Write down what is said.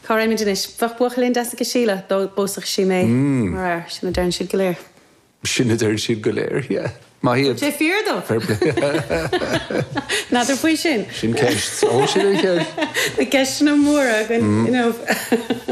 Cá raibh muid anois? Bheadh buachaillín deas aici Síle dá bpósfadh sí mé mar fhear, sin a deireann siad go léir. Sin a deireann siad go léir, yeah. Maith iad. Sé fíor dó! Fair play. N'fheadar faoi sin. Sin ceist. Ó, sin an cheist. Na ceisteanna móra againn inniu.